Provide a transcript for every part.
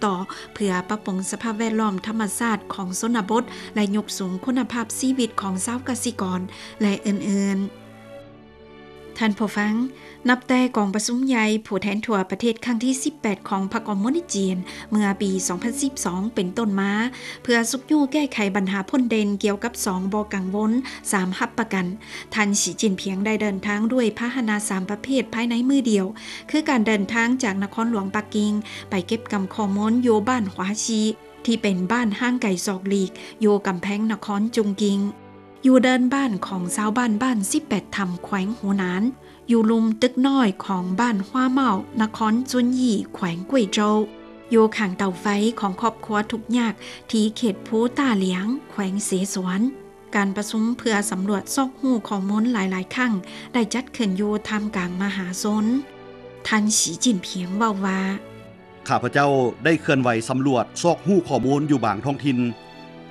ຕໍ່ເພື່ອປັບປຸງສະພາບແວດລ້ອມທຳມະຊາດຂອງຊົນນະບົດ ແລະ ຍົກສູງຄຸນນະພາບຊີວິດຂອງຊາວກະສິກອນ ແລະ ອື່ນໆ. ທ່ານຜູ້ຟັງ, ນັບແຕ່ກອງປະຊຸມໃຫຍ່ຜູ້ແທນທົ່ວປະເທດຄັ້ງທີສິບແປດຂອງພັກຄອມມູນິດຈີນ ເມື່ອປີສອງພັນສິບສອງເປັນຕົ້ນມາ, ເພື່ອຊຸກຍູ້ແກ້ໄຂບັນຫາພົ້ນເດັ່ນກ່ຽວກັບສອງບໍ່ກັງວົນ ສາມຮັບປະກັນ, ທ່ານ ສີ ຈິ້ນຜິງ ໄດ້ເດີນທາງດ້ວຍພາຫະນະສາມປະເພດພາຍໃນມື້ດຽວ, ຄືການເດີນທາງຈາກນະຄອນຫຼວງປັກກິ່ງໄປເກັບກຳຂໍ້ມູນຢູ່ບ້ານຫວາຊີ ທີ່ເປັນບ້ານຫ່າງໄກສອກຫຼີກ ຢູ່ກຳແພງນະຄອນຈຸງກິງ, ຢູ່ເດີ່ນບ້ານຂອງຊາວບ້ານ ບ້ານສິບແປດຖ້ຳ ແຂວງຫົວໜານ, ຢູ່ລຸ່ມຕຶກນ້ອຍຂອງບ້ານຫວ້າເມົ້າ ນະຄອນຈຸນຢີ ແຂວງກວຍໂຈວ, ຢູ່ຂ້າງເຕົາໄຟຂອງຄອບຄົວທຸກຍາກທີ່ເຂດພູຕ້າຫຼຽງ ແຂວງເສສວນ. ການປະຊຸມເພື່ອສຳຫຼວດຊອກຮູ້ຂໍ້ມູນຫຼາຍໆຄັ້ງ ໄດ້ຈັດຂຶ້ນຢູ່ທ່າມກາງມະຫາຊົນ. ທ່ານ ສີ ຈິ້ນຜິງ ເວົ້າວ່າ, ຂ້າພະເຈົ້າໄດ້ເຄື່ອນໄຫວສຳຫຼວດຊອກຮູ້ຂໍ້ມູນຢູ່ບາງທ້ອງຖິ່ນ,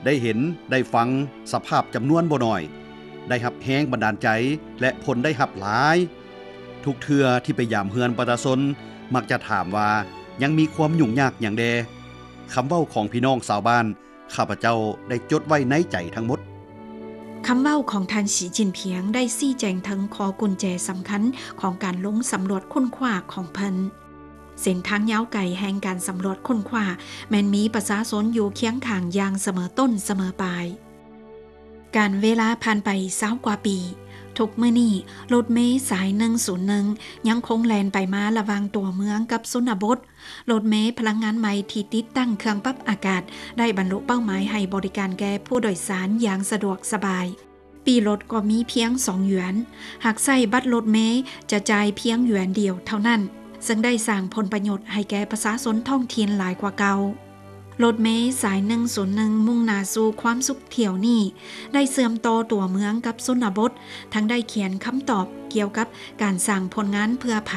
ໄດ້ເຫັນ, ໄດ້ຟັງສະພາບຈຳນວນບໍ່ໜ້ອຍ, ໄດ້ຮັບແຮງບັນດານໃຈ ແລະ ຜົນໄດ້ຮັບຫຼາຍ. ທຸກເທື່ອທີ່ໄປຢາມເຮືອນປະຊາຊົນ ມັກຈະຖາມວ່າຍັງມີຄວາມຫຍຸ້ງຍາກຫຍັງແດ່. ຄຳເວົ້າຂອງພີ່ນ້ອງຊາວບ້ານ ຂ້າພະເຈົ້າໄດ້ຈົດໄວ້ໃນໃຈທັງໝົດ. ຄຳເວົ້າຂອງທ່ານ ສີ ຈິ້ນຜິງ ໄດ້ຊີ້ແຈງເຖິງຂໍ້ກຸນແຈສຳຄັນຂອງການລົງສຳຫຼວດຄົ້ນຄວ້າຂອງເພິ່ນ. ເສັ້ນທາງຍາວໄກແຫ່ງການສຳຫຼວດຄົ້ນຄວ້າ ແມ່ນມີປະຊາຊົນຢູ່ຄຽງຂ້າງຢ່າງສະເໝີຕົ້ນສະເໝີປາຍ. ການເວລາຜ່ານໄປຊາວກວ່າປີ, ທຸກມື້ນີ້ ລົດເມສາຍໜຶ່ງສູນໜຶ່ງ ຍັງຄົງແລ່ນໄປມາລະຫວ່າງຕົວເມືອງກັບຊົນນະບົດ. ລົດເມພະລັງງານໃໝ່ທີ່ຕິດຕັ້ງເຄື່ອງປັບອາກາດ ໄດ້ບັນລຸເປົ້າໝາຍໃຫ້ບໍລິການແກ່ຜູ້ໂດຍສານຢ່າງສະດວກສະບາຍ. ປີ້ລົດກໍມີພຽງສອງຢວນ. ຫາກໃຊ້ບັດລົດເມຈະຈ່າຍພຽງຢວນດຽວເທົ່ານັ້ນ, ເຊິ່ງໄດ້ສ້າງຜົນປະໂຫຍດໃຫ້ແກ່ປະຊາຊົນທ້ອງຖິ່ນຫຼາຍກວ່າເກົ່າ. ລົດເມສາຍໜຶ່ງສູນໜຶ່ງ ມຸ່ງໜ້າສູ່ຄວາມສຸກຖ້ຽວນີ້ ໄດ້ເຊື່ອມຕໍ່ຕົວເມືອງກັບຊົນນະບົດ, ທັງໄດ້ຂຽນຄຳຕອບກ່ຽວກັບການສ້າງຜົນງານເພື່ອໃຜ,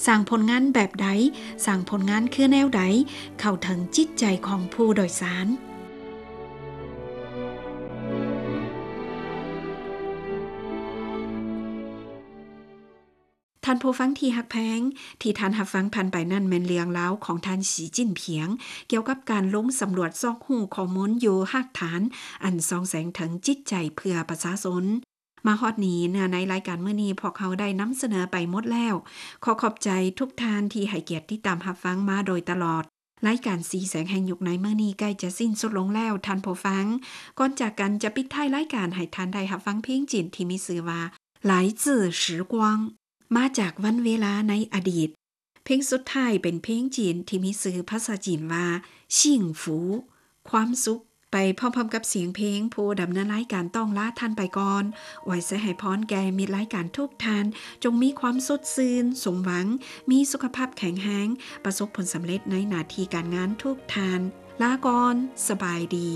ສ້າງຜົນງານແບບໃດ, ສ້າງຜົນງານຄືແນວໃດ, ເຂົ້າເຖິງຈິດໃຈຂອງຜູ້ໂດຍສານ. ທ່ານຜູ້ຟັງທີ່ຮັກແພງ, ທີ່ທ່ານຮັບຟັງຜ່ານໄປນັ້ນແມ່ນເລື່ອງລາວຂອງທ່ານ ສີ ຈິ້ນຜິງ ກ່ຽວກັບການລົງສຳຫຼວດຊອກຮູ້ຂໍ້ມູນຢູ່ຮາກຖານ ອັນສ່ອງແສງເຖິງຈິດໃຈເພື່ອປະຊາຊົນ. ມາຮອດນີ້ ເນື້ອໃນລາຍການມື້ນີ້ ພວກເຮົາໄດ້ນຳສະເໜີໄປໝົດແລ້ວ. ຂໍຂອບໃຈທຸກທ່ານທີ່ໃຫ້ກຽດຕິດຕາມຮັບຟັງມາໂດຍຕະຫຼອດ. ລາຍການສີແສງແຫ່ງຍຸກໃນມື້ນີ້ໃກ້ຈະສິ້ນສຸດລົງແລ້ວ, ທ່ານຜູ້ຟັງ. ກ່ອນຈາກກັນຈະປິດທ້າຍລາຍການໃຫ້ທ່ານໄດ້ຮັບຟັງເພງຈີນທີ່ມີຊື່ວ່າ 来自时光 ມາຈາກວັນເວລາໃນອະດີດ. ເພງສຸດທ້າຍເປັນເພງຈີນທີ່ມີຊື່ພາສາຈີນວ່າ 幸福 ຄວາມສຸກ. ໄປພ້ອມໆກັບສຽງເພງ, ຜູ້ດຳເນີນລາຍການຕ້ອງລາທ່ານໄປກ່ອນ. ອວຍໄຊໃຫ້ພອນແກ່ມິດລາຍການທຸກທ່ານ, ຈົ່ງມີຄວາມສົດຊື່ນ, ສົມຫວັງ, ມີສຸຂະພາບແຂງແຮງ, ປະສົບຜົນສຳເລັດໃນໜ້າທີ່ການງານທຸກທ່ານ. ລາກ່ອນ, ສະບາຍດີ.